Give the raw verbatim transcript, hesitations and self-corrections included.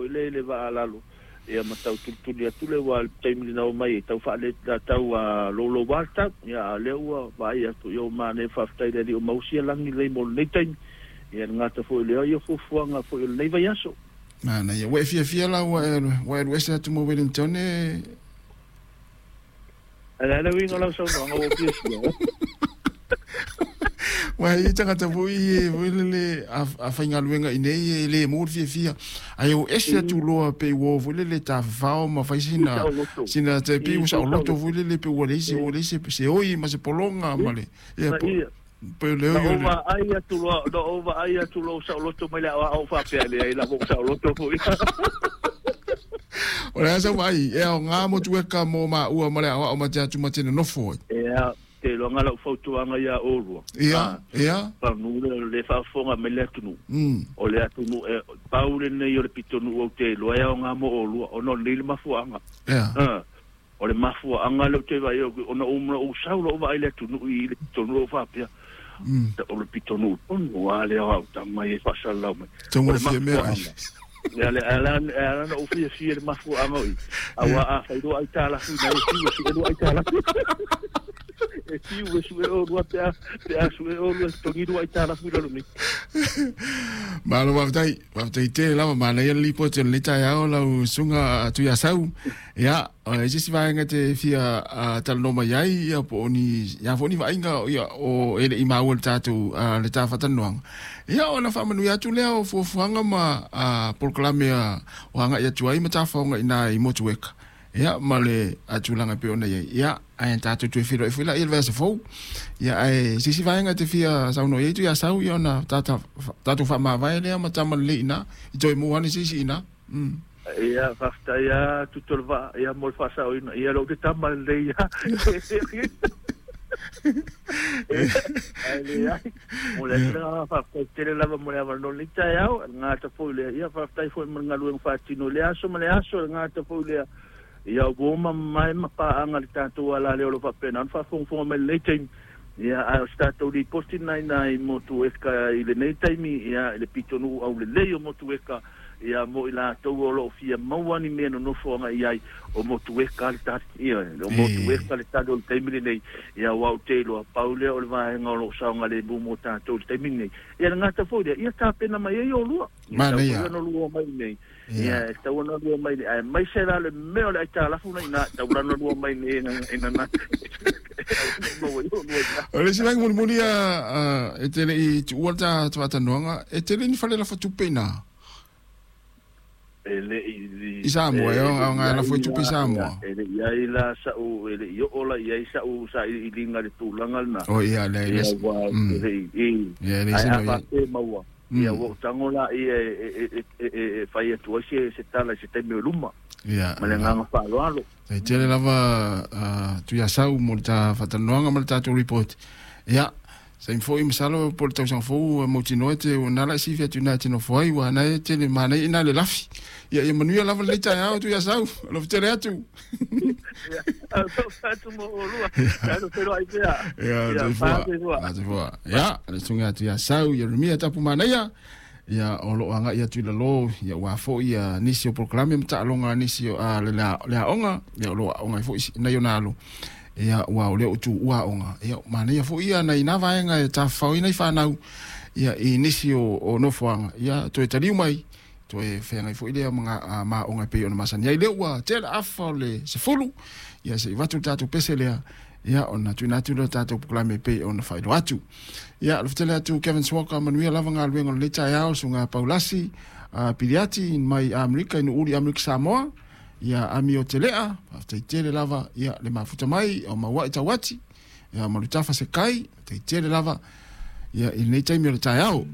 foi le le vaalalo ia ma tau tulituli atu le ua le taimi na o mai e tau faale tau a lolo walta ia le ua vaai atu ia o mane faafetai le alii o mausia lagi lelei mo lenei taimi ia le gata foi lea ia fuafuaga foi o lenei vaiaso. Mana ia ua e fiafia la ua e ua e alu ese atu ma Wellington e Ale ale uiga o lau saunoaga ua fiafia. Ua i tagata foi e foi lele a, a faigaluega i nei e le mo le fiafia. Ai o ese atu loa pe ua foi lele tafafao ma fai sina sina te pi ua saoloto foi lele pe ua leai se ua leai se se oi ma se pologa ma le ia po pe le Na oi ou vaai atu loa, na ou vaai atu loa saoloto mai le aoao faapea leai la ua saoloto foi. O le a sau vaai e aoga Motueka mo maua ma le aoao ma te atu ma te nonofo ai. Ia, te iloa lau fautuaga ia oulua. Ia, ia. Panu le le faafofoga mai le atunuu. Mm. O le atunuu e pau lenei o le pitonuu ou te iloa e aoga mo oulua ona o lenei le mafuaaga. Ia. Ah, o le mafuaaga lea ou te vaai ona ou ou sau lou vaai le atunuu i le pitonuu ou faapea. Mm. O le pitonuu tonu a lea o au tama e faasalalau mai. Tau O le fia mea ai. mafuaaga. Ia le ala ala na ou fiafia le mafuaaga o i. Aua a fai loa aitalafu ina e fiu e sue loa aitalafu. E fiu e sue olua pe a pe a sue olua togi loa aitalafu i lalo nei. Malo faafetai, faafetai tele lava manaia le lipoti o lenei taeao lau susuga Tuiasau. Ia, o le isi vaega te fia uh, talanoa mai ai ia po o ni ia foi ni vaaiga ia o e le i maua le tatou uh, le tafatalanoaga. Ia ona faamanuia atu lea o fuafuaga ma uh, polokalame a o agai atu ai ma tafaoga ina i Motueka. Ia ma le tulaga e pei ona i ai. Ia ae tatou toe feiloai foi laia i le vaiaso fou. Ia ae se isi vaega te fia saunoa i ai Tuiasau ia ona tata tatou faamavae lea ma tama lelei i ina i toe mua ane se isi i ina. Mm. Ia faafetai a tutu o le vaa ia mo le faasaoina ia lou te tama lelei ia. Ai leai mo le atu le agaga faafetai tele lava mo le avanoa lenei taeao e le gata foi lea ia faafetai foi mo le galuega faatino i le aso ma le aso e le gata foi lea ia ua mamae ma paaga le tatou ala lea o lo o faapena ona faafogafoga mai lenei taimi ia ae o se tatou lipoti lena ina i Motueka i lenei taimi ia i le pitonuu aulelei o Motueka ia mo i latou o lo o fia maua ni mea nonofo agai ai o Motueka le tali ia o Motueka le tali o le taimi lenei ia aua ou te iloa pau lea o le vaega o lo o saogalemu mo tatou i le taimi lenei ia le gata foi lea ia tapena mai ai olua ia tau foi Manaia. ona lua mai nei Ia. ia e tau ona lua mai nei aemaise la le mea o le aitalafu na ina tau lana lua mai nei e na na e maua ai olua ina. O le isi vaega mulimuli a e te le i tuua le ta faatalanoaga e tele ni fale lafa tupe ina. E le i I Samoa e e le aoga i e lafo ai i tupe i la ia Samoa. e le i ai la sa'u e le i oo la i ai sa'u sailiiliga le tulaga lena O ia le ia le ua mm. e le i i Ia le ae isi a no ia. faapea maua ia Mm. ua ou tago laia e e e e e fai atu ai se se tala i se taimi o luma Ia ma le la. agaga faaaloalo. Tai tele lava uh, Tuiasau mo le ta faatalanoaga ma le tatou report. Ia saimi foi masalo po le tausaga fou mautinoa e te o nala e sifi atu ina e te nofo ai ua na e tele manaia ina le lafi. Ia ia manuia lava lenei taeao Tuiasau. Alofa tele atu. Ia alofa atu mo olua tatou feiloai pea Ia ia soifua. fasoifua. Soifua. Ia le susuga Tuiasau Ieremia Tapu Manaia. Ia o loo agai atu i lalo ia ua foi ia nisi o polokalame ma taaloga a nisi o a le le aoga ia o loo aoga ai foi nai ona alo. Ia ua o lea o tuua aoga. Ia manaia foi ia nai na vaega e tafafaoina i fanau ia i nisi o, o nofoaga. Ia toe taliu mai toe feagai foi lea ma ma aoga e pei ona masani ai lea ua tele afa o le sefulu. Ia se i vatu le tatou pese lea ia ona tuuina atu lea tatou polokalame e pei ona faailoa atu. Ia alofa tele atu Kevin Swaka manuia lava galuega o lenei taeao susuga Paulasi uh, Piliati mai Amerika i Nu'uli Amerika Samoa. Ia ami o telea faafetai tele lava ia le mafuta mai o maua'i tauati ia ma Lutafa Sekai faafetai tele lava ia i lenei taimi o le taeao.